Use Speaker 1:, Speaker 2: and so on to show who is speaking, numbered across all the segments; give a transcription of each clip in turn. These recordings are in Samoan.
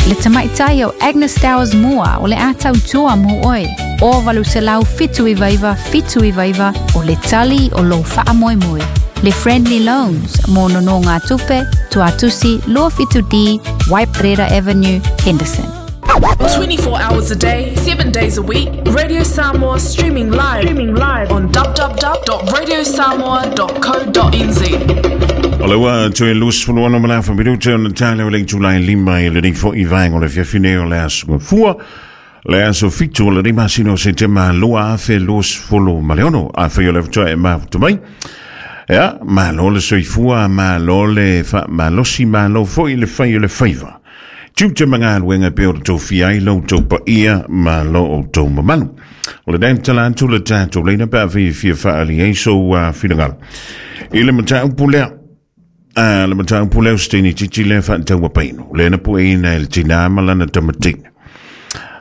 Speaker 1: Le tamaitai o Agnes Towers Moa o le a tautua mo oe. O 879 799 o le tali o lou faamoemoe. Le Friendly Loans mo nonō ngā tupe, Tuatusi 27D, Waiparera Avenue, Henderson.
Speaker 2: 24 hours a day, 7 days a week, Radio Samoa streaming live on www.radiosamoa.co.nz.
Speaker 3: O le ua toe 26 ma le afa minute ona tale o le itulai 5 i lenei fo'i vaega o le afiafi nei o le aso Gafua, le aso 7 o lenei masina o Setema 2026. Afai o le faatoa e mafuta mai, ia, malo le soifua, malo le faamalosi, malo foi le fai o le faiva. Tiute ma galuega pei ona tofia ai lo outou paia ma lo outou mamalu. O le tatala atu le tatou leina pe afai e fia faaali ai sou finagalo i le mataupu lea. Le mataupu lea o se teine itiiti lea faataua painu, lea na pueina e le tinā ma lana tamatina.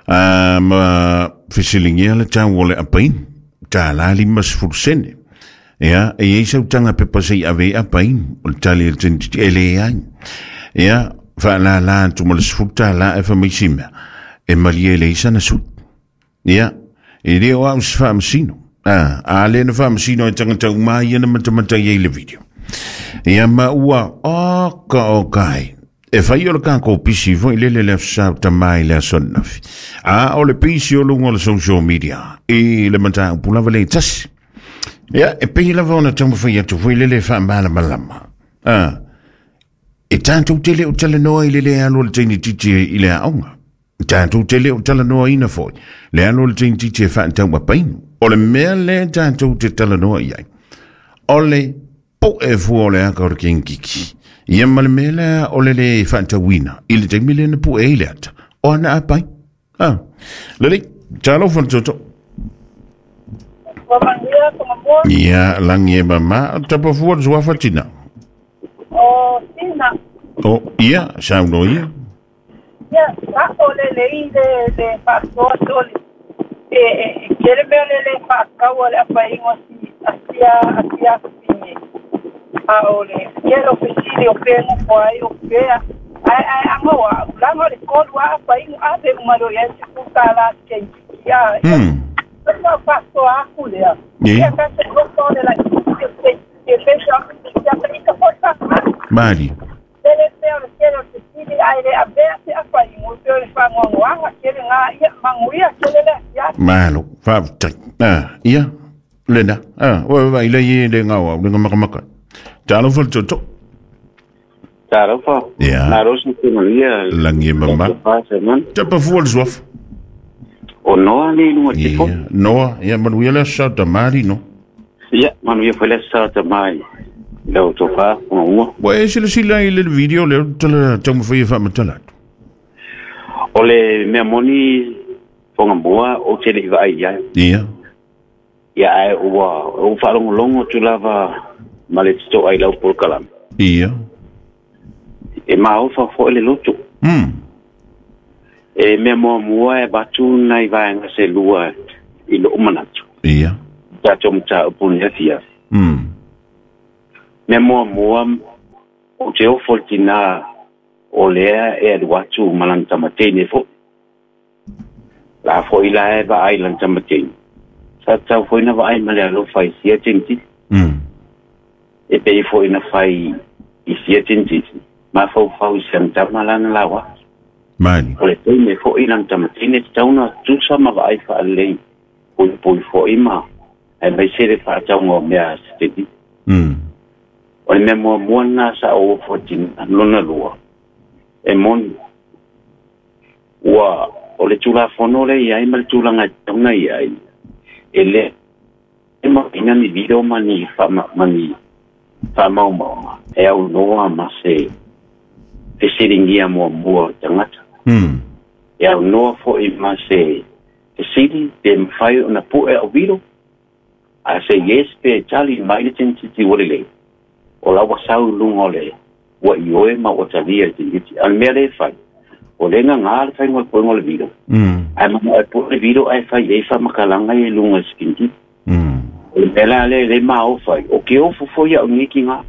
Speaker 3: Ma fesiligia le tau o le apainu, tālā 50 sene. Ia, e i ai sau taga pepa se i ave ai apainu? O le tali a le teine itiiti, e leai. Ia, faalālā atu ma le $10 ae fai mai si mea, e malie e leai sana sui. Ia, e le o au se faamasino. A lea na faamasino ai tagata uma ia na matamata i ai le video. Ia ma ua, oka oka ai. E fai o le kākou pisi foi lele le aso Sa o tamā i le aso ananafi. A o le pisi o luga o le social media i le mataupu lava le tasi. Ia, e pei lava ona taumafai atu foi lele e faamalamalama. E tatou te le o talanoa i le le alu o le teine itiiti i le aoga. E tatou te le o talanoaina foi le alu o le teine itiiti e faatau apainu. O le mea lea tatou te talanoa i ai, o le po'e fua o le aka o le kenkiki. Ia ma le mea lea o le le faatauina i le taimi lea na pu'e ai le ata o ana apai. Lelei, talofa le toto.
Speaker 4: Ua manuia Tongamua.
Speaker 3: Ia, lagi e mama, tapa fua le suafa tina.
Speaker 4: O Sina.
Speaker 3: O, ia, sauno ia.
Speaker 4: Ia, sa'o le lei le faasoa toli. E tele mea le le faatauina le apainu asia asia fine. A o le tele o fesili o pea nofo ai o pea. Ai ai anga wa ulanga le tolu a apainu ave uma loa i ai $10 se ia. Ia faasoa aku lea. Ia ka se loto le la e e pesa ia ka foi fa.
Speaker 3: Mali.
Speaker 4: Tele mea o le tele o fesili ai le avea se apainu pe o le faanoanoaga tele gā ia manuia tele le asiasi.
Speaker 3: Malo, faafetai. Ia, lena. Ua vai le i le ngau au, le ngamakamaka. Talofa le toto.
Speaker 5: Talofa.
Speaker 3: Ia.
Speaker 5: Malo si manuia.
Speaker 3: Lagi e mama. Tapa fua le suafa.
Speaker 5: O Noa le lunga te fo.
Speaker 3: Ia, Noa, ia manuia le aso Sa tamali no.
Speaker 5: Ia, manuia foi le sa tamai. Lau tofa, ua.
Speaker 3: Ua e silasila i le video lea tala taumafai e faamatala atu?
Speaker 5: O le mea moni Tongamua o te le i vaai ai. Ia ai ua o whaalongolongo tu lava ma le tito ai lau polokalame. E maofa foi le loto. E mea muamua e batu nai vaenga se lua i loo manatu. Tātou mataupu ni afiafi. Mea muamua o te ofo le tinā o lea e alu atu ma lana tamateine foi. La foi la e vaai lana tamateine. Sa tatau foi na vaai ma le alofa i sia tinititi. E pei foi na fai i sia tinititi. Mafaufau i siana tama lana laua.
Speaker 3: Mali.
Speaker 5: O le teine foi lana tamateine tatau na tusa ma vaai faalelei. Puipui foi ma ae maise le faatauga o mea a se tinititi. O le mea muamua lena sa ou ofo tina lona lua. E moni. Ua o le tulafono le i ai ma le tulaga e tatau ona i ai. E le ma ina ni video ma ni ma ni faamaumauga e aunoa ma se fesiligia muamua o tagata. E aunoa foi ma se fesili pe mafai ona pu'e au vilo. A se yes pe tali mai le tinititi ua lelei. O la ua sau i luga o le ua ioe ma ua talia e tinititi. A o le mea lea e fai, o le gagā le faiga o le puega o le vilo. Ae manao e pu'e le vilo ae fai ai faamatalaga ia i luga i se tinititi. O le mea la lea e le maofa ai. O ke ofo foi au nei kigā.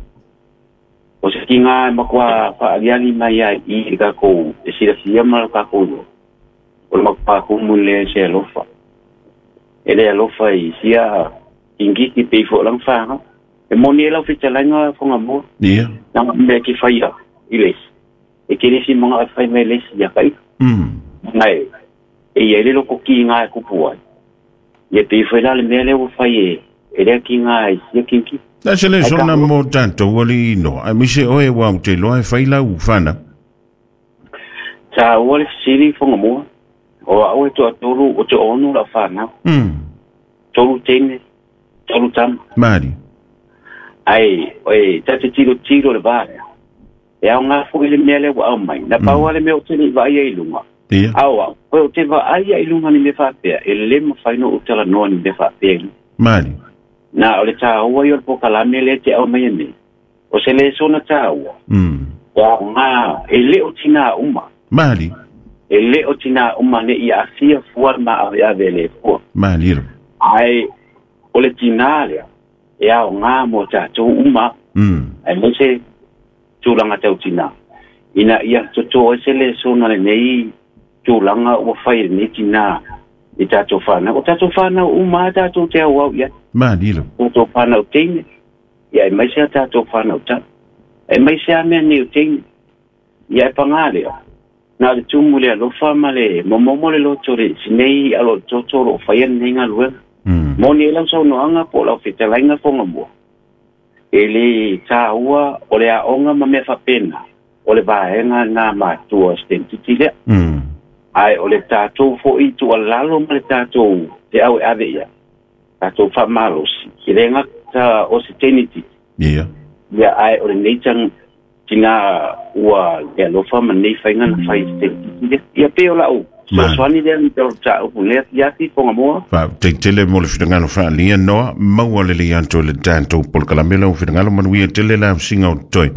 Speaker 5: O se kinga e makua whaaliali mai ai i le kākou e silafia ma le kākou iloa. O le makua kumu le se alofa. E le alofa i sia ingiki pe i fo lang whaanga. E moni e lau whitalainga whanga mua.
Speaker 3: Ia.
Speaker 5: Nanga mea ki whaia i lesi. E ke lesi manga e whai mai lesi ia kai. Ngai, e ia le loko ki ngā e kupu ai. Ia pe i whai la le mea lea ua whai e, e lea ki ngā e sia kinki.
Speaker 3: Na se le sona mo tātou ali no. Ai mise oe wa o te loa e whai lau whana.
Speaker 5: Sa ua le fisili whanga mua. O a oe toa tolu o te ono la whanau. Tolu teine, tolu tama.
Speaker 3: Mari.
Speaker 5: Ai, oe, ta te tiro tiro le vārea. E au ngā fo i le mea le wa au mai. Na pau ale mea o te ni vai ai lunga.
Speaker 3: Ia.
Speaker 5: Au au, oe o te vai ai lunga ni me whapea. E le ma whaino o tala noa ni me whapea.
Speaker 3: Mari.
Speaker 5: Na o le tāua i o le pokalame le te au mai e me. O se le sona tāua. O au ngā, e le o tina uma.
Speaker 3: Mari.
Speaker 5: E le o tina uma ne i afia fua ma ave ave le fua.
Speaker 3: Mari.
Speaker 5: Ai, o le tina lea. E au ngā mō tātou uma. Ai me se tūlanga tau tina. Ina ia toto e se le sona le nei tūlanga ua whai le nei tina i tātou whānau. O tātou whānau uma tātou te au au ia.
Speaker 3: Mari.
Speaker 5: Tātou whānau teine. Ia e mai se a tātou whānau tā. E mai se a mea nei o teine. Ia e pangā lea. Nā le tūmu le alofa ma le momomo le loto le sinei alo toto lo whai nei ngā luega. Moni e lau saunoanga po lau whitalainga whonga mua. E le tāua o le aonga ma mea whapena. O le vaenga ngā mātua stentiti lea. Ai o le tātou fo i tua lalo ma le tātou te au e ave ia. Tātou whamalosi. I le ngata o se teniti.
Speaker 3: Ia.
Speaker 5: Ia ai o le neitang tina ua le alofa ma nei whainga na whai stentiti lea. Ia pe o lau. So swani lea ni te o tāu lea tiati whonga mua.
Speaker 3: Fa te tele mo le whitangalo whaalia noa, maua le le anto le tātou polkalame lau whitangalo manuia tele la singa o toi.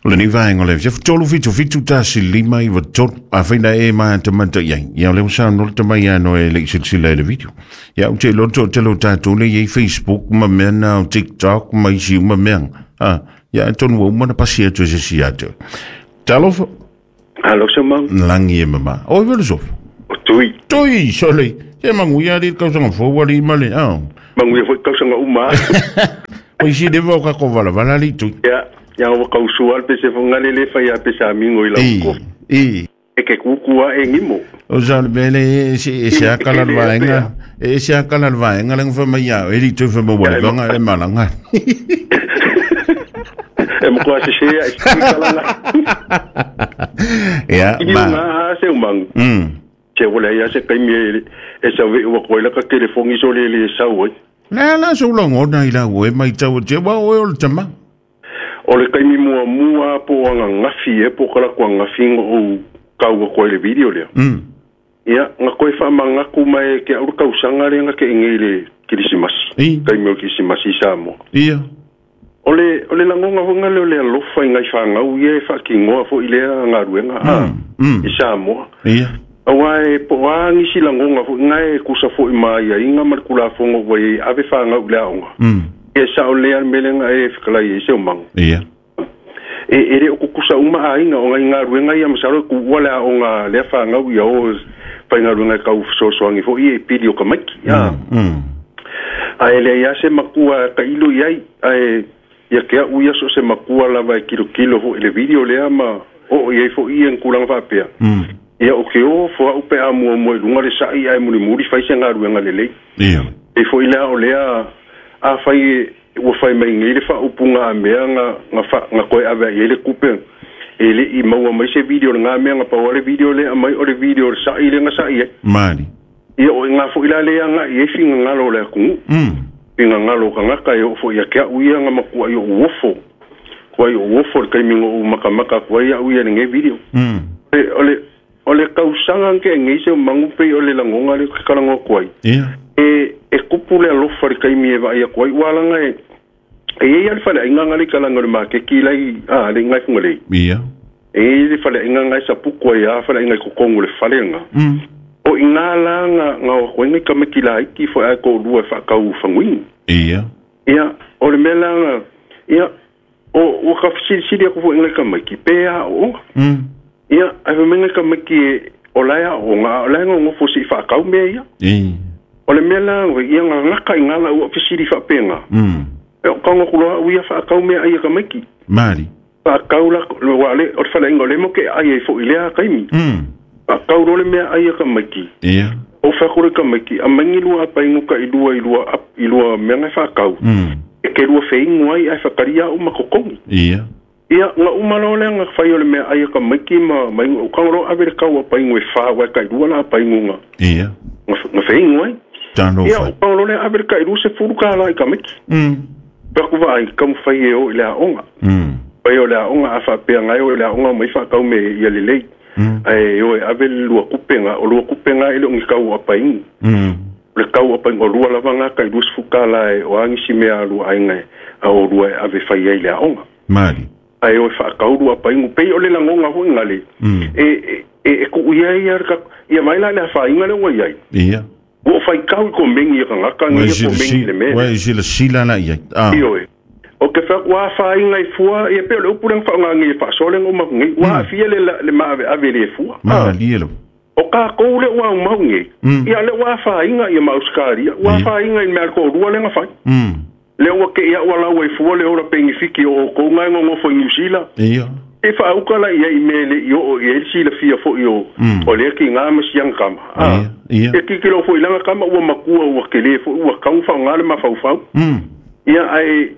Speaker 3: O le ni vaenga o le whia, tolu fitu fitu tasi lima i wa tolu, a whaina e maa te mata iai. Ia o le wasa no le tamai ano e le isilisila e le video. Ia o te loto o te lo tātou le iei Facebook ma mea na o TikTok ma isi uma mea. Ia tonu wa umana pasi atu e se si atu. Talofa.
Speaker 6: Alo se mau.
Speaker 3: Langi e mama. Oi vele sofa.
Speaker 6: O tui.
Speaker 3: Tui, sole. Te manguia li kausanga fō wali male.
Speaker 6: Manguia foi kausanga uma.
Speaker 3: O isi dewa o kako vala vala li tui.
Speaker 6: Ia, ia o kausua al pese fongale le fai a pese amingo i lau ko.
Speaker 3: I.
Speaker 6: E ke kukua e ngimo.
Speaker 3: O sa le bele e se akala le vaenga. E se akala le vaenga lenga wha mai au. E li tui wha mawa le vanga e malanga.
Speaker 6: E mokua se se e se kalanga.
Speaker 3: Ia, ma.
Speaker 6: I ngā se umang. Se wala ia se kaimi e sa we ua koe laka telefongi so le le sau.
Speaker 3: La la so longo na ila ue mai tau te wa o le tama.
Speaker 6: O le kaimi mua mua po anga ngafi e po kala kwa ngafi o kau koe le video lea. Ia, nga koe wha mangaku mai ke auru kausanga le nga ke inge le kirisimasi. Kaimi o kirisimasi sa mo.
Speaker 3: Ia.
Speaker 6: O le langonga honga leo le alofa i ngai whangau ia e whakingoa fo i lea ngā ruenga i Samoa.
Speaker 3: Ia.
Speaker 6: Awa e po a ngisi langonga fo ngai e kusa fo i maia inga ma le kulafongo wa i ave whangau lea onga. E sa o lea melenga e whakalai e se o mangu.
Speaker 3: Ia.
Speaker 6: E re o kukusa uma a inga o ngai ngā ruenga ia masaro ku ua lea onga lea whangau ia o whai ngā ruenga kau sosoangi fo i e pili o ka maiki. A e lea ia se makua ka ilo iai a ia ke au ia so se makua lava e kilo kilo ho le video lea ma o ia fo ia nkulanga fa pea. Ia o ke o fo au pe a mua mua lunga le sai ai muli muli fai se ngā ruenga le lei.
Speaker 3: Ia.
Speaker 6: E fo ila o lea a fai ua fai mai ngai le fa upunga a mea nga koe ave i le kupe. E le i maua mai se video le ngā mea nga paua le video le mai o le video le sai le nga sai e.
Speaker 3: Mari.
Speaker 6: Ia o ngā fo ila lea nga i e finga ngalo le akungu. Pinga ngalo ka ngaka e ofo ia kia uia nga makua i o uofo. Kua i o uofo le kaimingo o makamaka kua ia uia le nge video. O le kausanga nke nge se o mangupe o le langonga le kalango kua i.
Speaker 3: Ia.
Speaker 6: E kupu le alofa le kaimi e vai a kua i walanga e. E ia le whale inga ngale kalanga le makeki lai a le ngai funga lei.
Speaker 3: Ia.
Speaker 6: E le whale inga ngai sapuku ia whale inga kokongu le whale nga. O inga la nga o koe ngai kameki la iki fo ai ko lua whakau whanguingi.
Speaker 3: Ia.
Speaker 6: Ia, o le mea la nga, ia, O ua ka silisili aku foʻi ngai tamaiti pe aʻoʻoga. Ia ae faimai ngai tamaiti o lae aʻoʻoga a o lae gogofo seʻi faakau mea ia. O le mea la ia gagaka i gala ua fesili faapega. E o tago aku loa aʻu ia faakau mea ai e tamaiti.
Speaker 3: Mali.
Speaker 6: Faakau la ua le o le faleaiga o lea mo ke ai ai foʻi lea taimi. Faakau loa le mea ai e tamaiti.
Speaker 3: Ia.
Speaker 6: O fai le tamaiti aumai ni lua apaigu taʻilua i lua i lua mea na e faakau. E ke lua feigu ai ae faatalia aʻu ma totogi.
Speaker 3: Ia.
Speaker 6: Ia na uma loa lea na fai o le mea ai e tamaiti ma ma o tago loa ave le kau apaigu e fa uae taʻilua la apaigu na.
Speaker 3: Ia.
Speaker 6: Na feigu ai.
Speaker 3: Talo
Speaker 6: Ia o tago loa lea ave le taʻilua $10 i tamaiti. Pe aku vaai taumafai e o i le aoga. Fai o le aoga a faapea gae o i le aoga mai faakau me ia lelei. Ae o e ave le lua kupega, o lua kupega e le o ni kau apaigu. O le kau apaigu o lua lava ga taʻilua $10 e o a nisi mea a lua aiga a o lua e ave fai ai i le aoga.
Speaker 3: Mali.
Speaker 6: Ae o e faakau lua apaigu pei o le lagoga foʻi gale e tuu ia ia ia mai la le afaina le ua iai.
Speaker 3: Ia.
Speaker 6: Ua faitau i komegi e tagata
Speaker 3: Ua
Speaker 6: nei e komegi i le mea
Speaker 3: Ua
Speaker 6: lea.
Speaker 3: e silasila la i ai.
Speaker 6: Ioe. O ke fai ua afaina i fua ia pei o le upu lea na faaaogaina e faasoa lea na uma atu nei. Ua aafia le le maaveave i le fua.
Speaker 3: Malie lava.
Speaker 6: O tatou lea ua aumau nei, ia lea ua afaina ia ma Ausetalia, ua afaina i le mea a le toalua lea na fai. Lea ua tei au alau ai fua le ola penifiki o outou na e nonofo i Niu Sila.
Speaker 3: Ia.
Speaker 6: E faauka la ia i mea e leʻi oo i ai le silafia foʻi o o lea kigā ma siaga kama.
Speaker 3: Ia.
Speaker 6: E tilotilo foʻi laga kama ua matua ua kelē foʻi ua tau faaaogā le mafaufau. Ia ae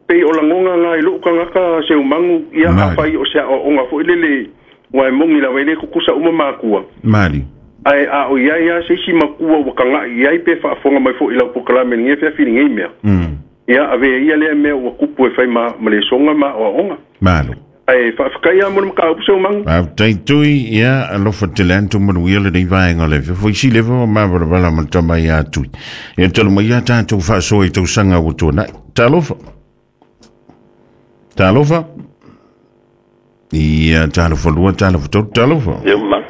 Speaker 6: pei o lagoga ga i loʻu tagata seumagu ia afai o se aʻoaʻoga foʻi lele ua e mogi lava e lē tutusa uma makua.
Speaker 3: Mali.
Speaker 6: Ae a o iai a se isi makua ua tagaʻi i ai pe faafofoga mai foʻi lau polokalame lenei feafi lenei mea. Ia avea ia lea mea ua kupu e fai ma ma lesoga ma aʻoaʻoga.
Speaker 3: Malo.
Speaker 6: Ae faafetai lava mo le mataupu seumagu.
Speaker 3: Faafetai Tui, ia alofa tele atu manuia lenei vaega o le afiafi. Isi leva o mavalavala ma le tama ia Tui. Ia talu mai ia tatou faasoa i tausaga ua tuanai. Talofa. Talofa. Ia talofa lua, talofa tolu, talofa.
Speaker 7: Ia ma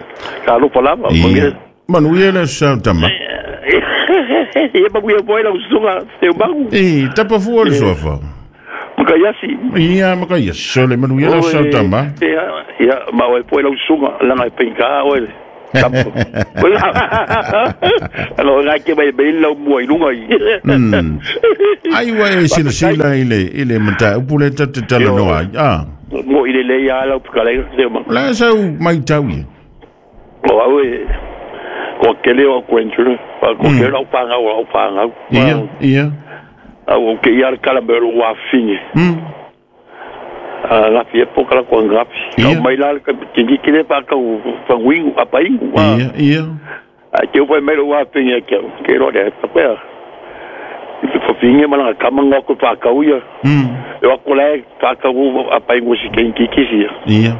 Speaker 7: talofa lava.
Speaker 3: Ia. Manuia le aso sao tama.
Speaker 7: Ia manuia foi lau susuga Seumagu.
Speaker 3: E, tapa fua le suafa.
Speaker 7: Makaiasi.
Speaker 3: Ia, Makaiasi. Sole manuia le aso sao tama.
Speaker 7: Ia, ia, ma oe foi lau susuga, langa e paigā oe le. Alo ngai ke mai mai lau mua i lunga i.
Speaker 3: Ai ua e silasila i le i le mataupu lea tatou te talanoa ai. Ah.
Speaker 7: Mo i le lei a lau fetalaiga Seumagu.
Speaker 3: O le a sau matau ia?
Speaker 7: O au e ko kele o grandchildren, ko kele au whāngau, au whāngau.
Speaker 3: Ia, ia.
Speaker 7: Au o ke ia le kala me ro wāwhinge. Ngapi e pōkala kua ngapi. Kau mai la le tini kile pa kau whanguingu, apaingu.
Speaker 3: Ia, ia.
Speaker 7: A te upai mai ro wāwhinge kia, ke roa le papea. I te whawhinge malanga kama ngā koe whākau ia. E wako lae whākau apaingu si kenki kisi ia.
Speaker 3: Ia.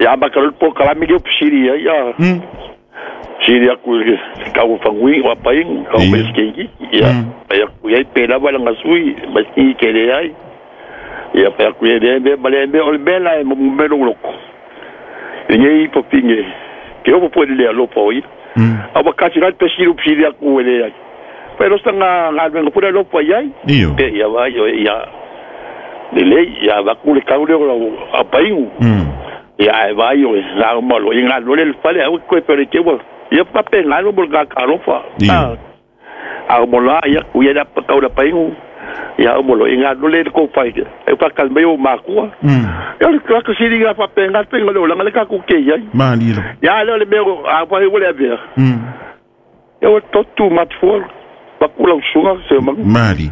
Speaker 7: Ia ama ka le pōkala mi leo pisiri ia, ia. Siri aku i kau whanguingu, apaingu, kau mai si kenki. Ia, pai aku iai pēlā wala ngā sui, mai si kenki ke le ai. Ia pai aku ia le mea, ma le mea o le mea la e mo mea loko. I ngei i papinge, ke opo po le alofa o ia. A wakati rai pesiru pisiri aku e le ai. Pai rosta ngā ngā luenga pura alofa i ai.
Speaker 3: Iyo.
Speaker 7: Pe ia vai o ia le lei, ia waku le kau leo lau apaingu. Ia e vai o ngā malo, i ngā lole le fale au koe pere te ua. Ia pape ngā lo mo ngā alofa.
Speaker 3: Iyo.
Speaker 7: A mo la ia ku ia pa kau la paingu. Ia o molo i ngā lole le kōwhai. E whakal mai o mākua. Ia le kaka siri ngā whape ngā penga leo langa le kaku ke iai.
Speaker 3: Mali lava.
Speaker 7: Ia leo le mea o a whai ua le avea. Ia o totu matfua. Paku lau sunga se mangu.
Speaker 3: Mali.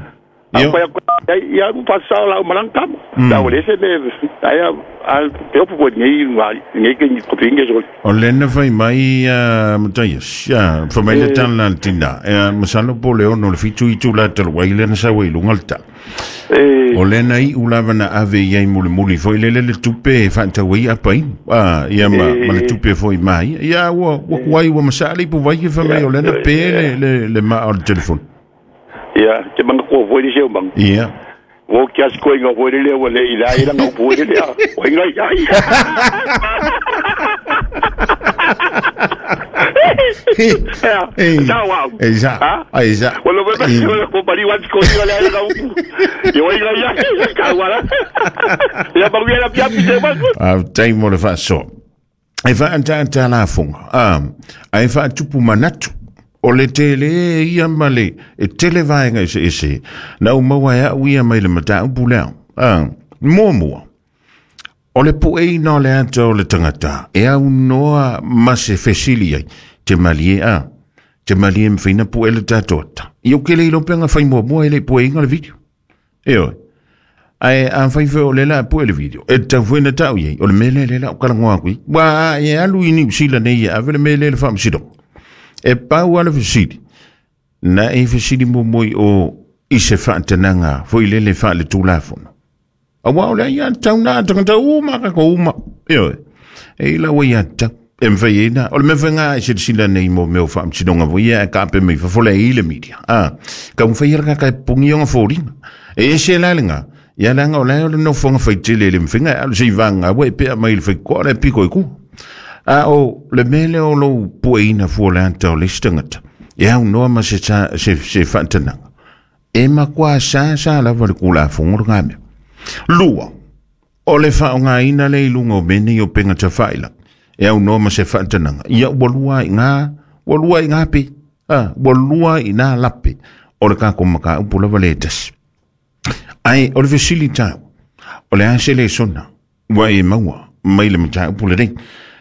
Speaker 7: A whai aku ia u pasao lau malang kama. La o le se me aia a te opu po nei ngā nei ke ni kopinge so.
Speaker 3: O lena fai mai Mataias, ia, fai mai le tala le tina. Masalo po le ono le fitu i tula talu ai lena sa ua i lunga le tala. O lena i ulava na ave i ai mulimuli foi lele le tupe e faatau ai apai. Ia ma le tupe foi mai. Ia ua kuai ua masali po vai ke fai mai o lena pe le le maa o le telefoni.
Speaker 7: Ia, te manga kua foi le seu manga.
Speaker 3: Ia.
Speaker 7: O kia si koe ngā foi le lea ua le i la i langa upu le lea. O inga i ai. E tau au.
Speaker 3: E sa. Ai sa.
Speaker 7: Wala ba wala ko pari wan ko ni wala ka upu. Yo ai ga ka wala. Ya ba wala pia pi ba.
Speaker 3: A tai mo le faso. E fa anta anta la fonga. Ai fa tupu manatu. O le tele ia male e tele vaenga ese ese. Na umaua e au ia mai le mataupu lea. Muamua. O le pueina o le ata o le tangata. E au noa ma se fesili ai. Te malie a. Te malie mwhaina pu e le tātoata. I o kele ilo penga whai muamua e le pueinga le video. E oe. Ai a whai whai o le la pu e le video. E tau whaina tau iei. O le mele le la o kalangoa kui. Wa e alu ini usila nei e ave le mele le whaamsiro. E pau ala fesili. Na e fesili mo o i se whaatananga fo i lele wha le tūlafono. A wao lea ia tau nā tangata uma ka ko uma. E oe. E ila wa ia tau. E mwhai e nā. O le mewha ngā e sila nei mo meo whaamsinonga fo ia e kape mei whafole e ile media. Ka mwhai hera kaka e pungi onga fōringa. E ese la lenga. Ia langa o lea o le nofonga whaitele le mwhinga. E alu se i vanga we pea mai le whaikoa le piko i ku. A o le mele o lou pueina fua le ata o le stangata. E au noa ma se whaatananga. E makua sa sa lava le kula fongo ngā mea. Lua, o le whaonga ina le ilunga o mene i o penga ta whaila. E au noa ma se whaatananga. Ia ua lua i ngā pe. Ua lua i ngā lape. O le kako maka upu lava le tasi. Ai, o le vesili tau. O le ase le sona. Ua e maua. Mai le mata upu le rei.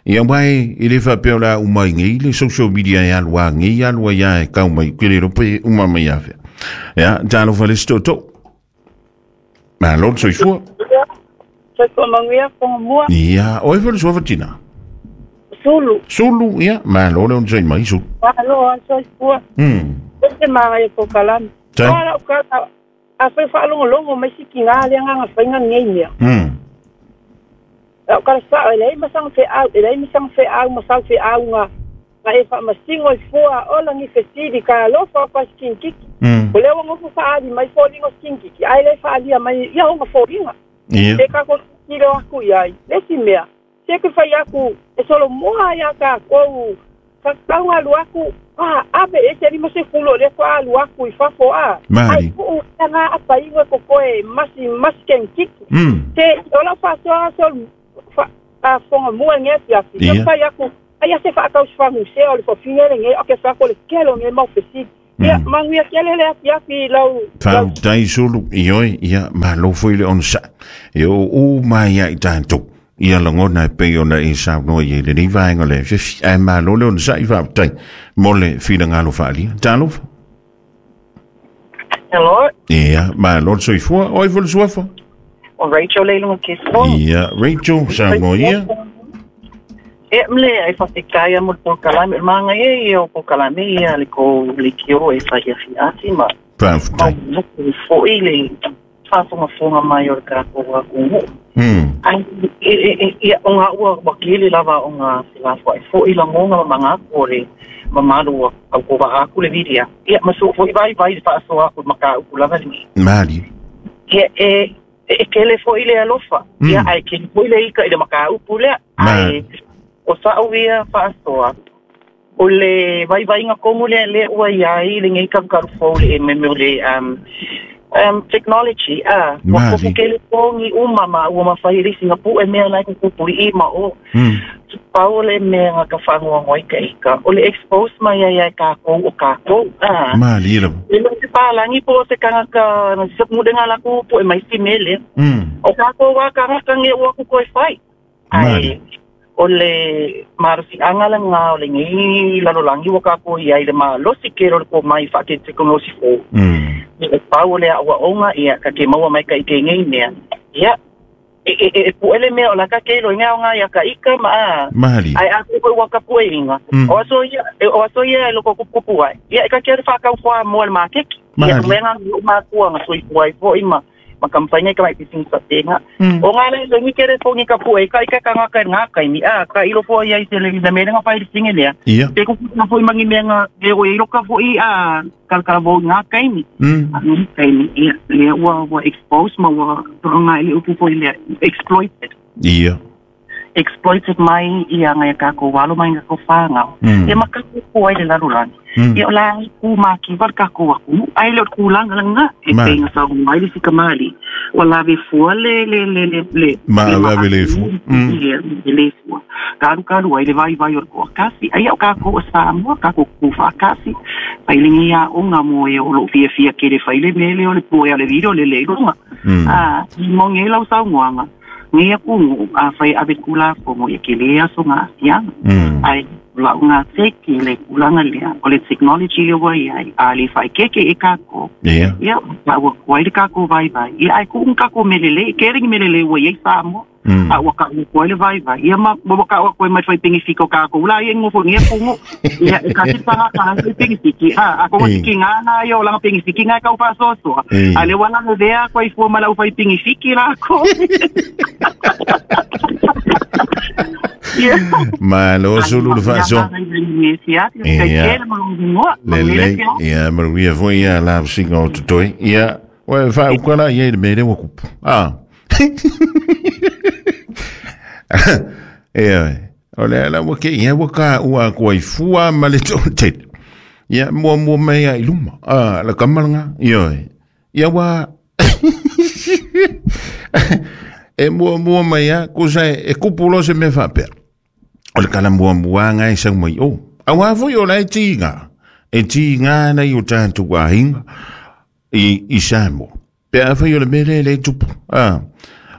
Speaker 3: Ia wai, i le whapea la umai ngei le social media e alua ngei alua ia e kau mai kere rope uma mai awhea. Ia, tālo whalesto tō. Malo, soifua.
Speaker 4: Soifua manguia, fonga mua.
Speaker 3: Ia, oe whale sua fatina?
Speaker 4: Sulu.
Speaker 3: Sulu, ia, malo le onzai mai, sulu.
Speaker 4: Malo, soifua. Ote manga e kokalani. Wala ukata, a whai whaalongolongo mai siki ngā lea ngā whainga ngei mea. Au kala sa e lei masang fe au e lei masang fe au masang fe au nga e fa masingo i fua ola ngi fesili ka lofa pa skinkiki o le ngo fa ali mai fo lingo skinkiki ai le fa ali mai ia honga fo linga e ka ko kilo aku ia le si mea se ke fa aku e solo moa ia ka ko ka ka lu aku a abe e se limo se fulo le fa lu aku i fa fo a ai ku nga apa ingo ko ko e masi maskinkiki te ola fa so so a fonga mua nge pia fi fa ya ku ai se fa ka usfa museo le fofinga nge o ke fa ko le kelo nge mau fesi ia manguia kele le pia fi lau
Speaker 3: fa dai sulu ioi ia malo foi le onsa e o mai ia tanto ia langona pe ona e sa no ye le ni vainga le fi ai malo le onsa i fa tai mole fi ngalo fa li talo.
Speaker 8: Hello.
Speaker 3: Ia malo soifua oi vol suafa.
Speaker 8: O Rachel Leilunga Keso.
Speaker 3: Ia, Rachel, sa moia.
Speaker 8: E mle e whatekaya mo le kalame, manga e o kalame ia le ko le kio e whai fi ati ma.
Speaker 3: Paftai.
Speaker 8: Ma fo ile whafonga fonga mai o le kako wa kungu. Ai e o ngā ua wakili lava o ngā filafua e fo ila ngonga ma ngā kore ma malu au ko vahaku le vidia. Ia maso fo i vai vai whaasoa ku maka uku lava ni.
Speaker 3: Mali.
Speaker 8: Ia e e kele fo ile alofa. Ia ai kele fo ile ika ile maka upu lea. Ai o sa uia faasoa. O le vai vai nga komu le le ua ia i le ngai karu fo le me le technology a wa ko kele pongi uma ma ua mawhai le Singapore e mea lai kuku i ma o pau le mea nga ka whangoa ngoi ka ika o le expose mai ai ka kou o ka kou a
Speaker 3: mali lo
Speaker 8: le se palangi po se kanga ka na se mudenga la ku po e mai si mele o ka kou wa kanga kange ua ku koi whai ai o le marusi angala ngā o le ngi lalolangi wa ka kou ia i le ma losi kero le ko mai wha ke te kongosi fo le pau le aua onga ia ka ke maua mai ka ike ngei mea ia e puele mea o la ka ke lo inga onga ia ka ika ma a
Speaker 3: mali
Speaker 8: ai a ku wa ka pue inga o aso ia o aso ia lo ko kupu ai ia ka ke whakau wha mo le makeki ia menga ma kua nga sui puai fo ima ma kampanya ka mai pising sa tenga o nga le ngi kere fo ngi ka pue ka ika ka nga ka nga ka ni a ka ilo fo ia i te le me nga fai singe le te ku na fo mangi me nga e o ilo ka fo i a kal kal bo nga ka ni ka ni ia le wa expose ma wa nga ile upu fo ile exploited
Speaker 3: ia
Speaker 8: exploited mai ia nga ka ko walo mai nga ko whanga e maka kupukupu ai le lalolagi ia o la ku makiva le takou atunuu ae le o le tulaga lagā e peiga sauga ai le sikamālii ua lave fua le le le le le
Speaker 3: ma ave le fua
Speaker 8: le fua kalukalu ai le vaivai o le toatasi ai o takou o Samoa takou tutufaatasi failegi aoga mo e o loo fiafia kele faile mele o le poea le video le le luga a moni ai lau saunoaga nei atunuu afai ave tulafono ia kele aso gaafiaga ae lau gateki le tulaga lea o le technology le ua iai a le faaekeke e takou ia ua kuai le takou vaivai ia ae kuʻu takou melelei kele ni melelei ua iai Samoa a ua ka'u atu ai le vaivai ia ma ua ka'u atu ai mai faipenifiki o takou la ia gofogia pugu ia e kasi pagataga faipenifiki a a koga sikiga na ia o laga penifiki ga e kau faasoasoa a le ua lavevea atu ai fua ma lau faipenifiki lakou.
Speaker 3: Ma lo sulu le faasoa lelei ia maluia foi ia la singa o totoe ia ua faauka la ia i le mea lea ua kupu a ia o le ala ua ke ia ua ka ua aku ai fua ma le toatele ia muamua mai ai luma a la kamalaga ia ia ua e muamua mai a kusa e kupu lo se mea faapea o le kala muamuaga e sau mai o auā foi o la e tiga nei o tatou aiga i Samoa pe afai o le mea lea e le tupu a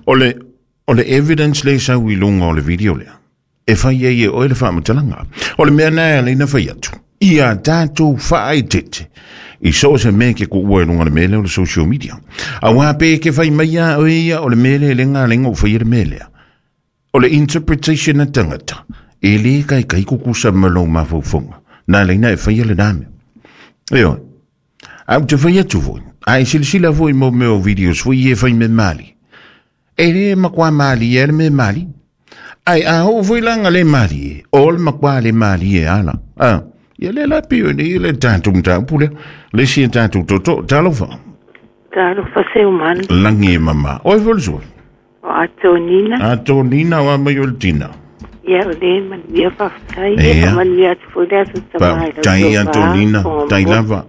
Speaker 3: o le evidence le sau i luga o le video lea e fai ai e oe le faamatalaga o le mea na e alaina fai atu ia tatou faaetete i so o se mea ke kuua e luga le mea lea o le social media auā pe ke fai mai a oe ia o le mea lea e le galega o faia le mea lea o le interpretation a tagata e lē kaikai kukusa ma lou mafaufauga na alaina e faia lenā mea ioe a ou te fai atu foi a e silasila foi mo mea o videos foi e fai me mali e lē makuā malie a le mea mali ai a oo foi laga le malie o le makuā le malie ala a ia le la pio nei le tatou mataupu lea le isi e tatou toto talofa
Speaker 9: talofa seumanu
Speaker 3: lagi e mama oe foi le sua
Speaker 9: o Atonina
Speaker 3: Atonina o a mai o le tina
Speaker 9: ia o le manuia faafetai ia manuia atu foi le aso tamai
Speaker 3: tai Atonina tai lava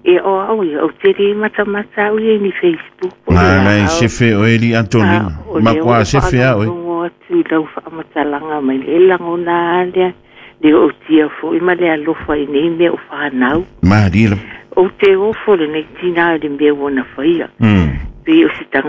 Speaker 9: ia o au ia ou te le matamata au ia ni Facebook
Speaker 3: o la sefe o eli Atonina makuā sefe a oe
Speaker 9: atu i lau faamatalaga mai le lagona lea le o tia foi ma le alofa i nei mea o whanau.
Speaker 3: Marie la.
Speaker 9: O te ofo le nei tina le mea wana whaia. Pe o si tanga